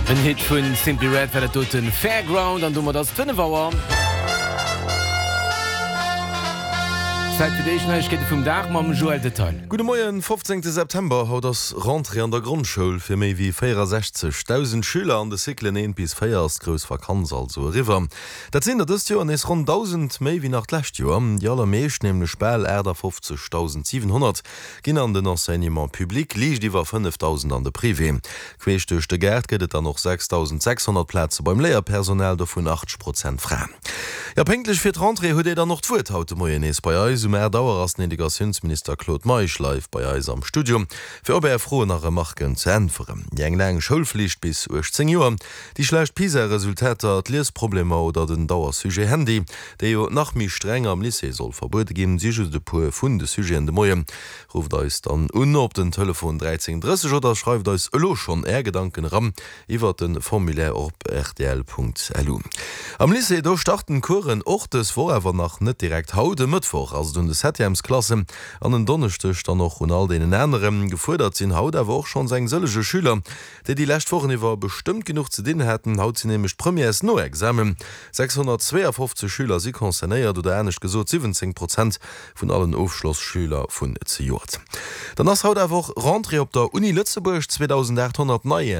En Hit vun Simply Red war dat doten Fairground an domat ass et 5 Auer. Zäit fir déi éischt Neiegkeete vum Dag mam Joël Detail. Gudde Moien, 15 September, Haut ass Rentrée an der Grondschoul. Fir méi wéi 64.000 Schüler an de Cyclen 1 bis 4 ass d'grouss Vakanz also eriwwer. Dat sinn der dëst Joer nees ronn 1.000 méi wéi nach d'lescht Joer. Déi allermeescht, nämlech bal 58.700, ginn an den Enseignement public, liicht iwwer 5.000 an de Privé. Queesch duerch de Gaart gëtt et dann och 6.600 Plaze beim Léierpersonal, dovun 80 Prozent Fraen. Jo, pénktlech fir d'Rentrée huet Dir dann och d'Wuert haut de Moien nees bei eis. Um 8 Auer ass den Educatiounsminister Claude Meisch live bei eis am Studio, fir op Är Froen a Remarken ze äntweren. Déi eng laang Schoulflicht bis 18 Joer, déi schlecht PISA-Resultater, d'Liesproblemer oder den Dauersujet Handy, dee jo nach méi streng am Lycée soll verbuede ginn, si just e puer vun de Sujeten de Moien. Rufft eis dann un op den Telefon 13 30 oder schreift eis elo schonn Är Gedanken eran iwwert de Formulaire op rtl.lu. Am Lycée, do starten d'Coursen och dës Woch, awer nach net direkt haut. E Mëttwoch ass et un de Septièmesklassen an en Donneschdeg dann och un all deenen aneren. Gefuerdert sinn haut awer och schonns eng sëllege Schüler, déi déi lescht Wochen iwwer bestëmmt genuch ze dinn haten. Haut sinn nämlech d'Premières no Examen. 652 Schüler si concernéiert, oder anescht gesot 17 Prozent vun allen Ofschlosschüler vun zejoert. Dann ass haut awer och Rentrée op der Uni Lëtzebuerg. 2.800 nei.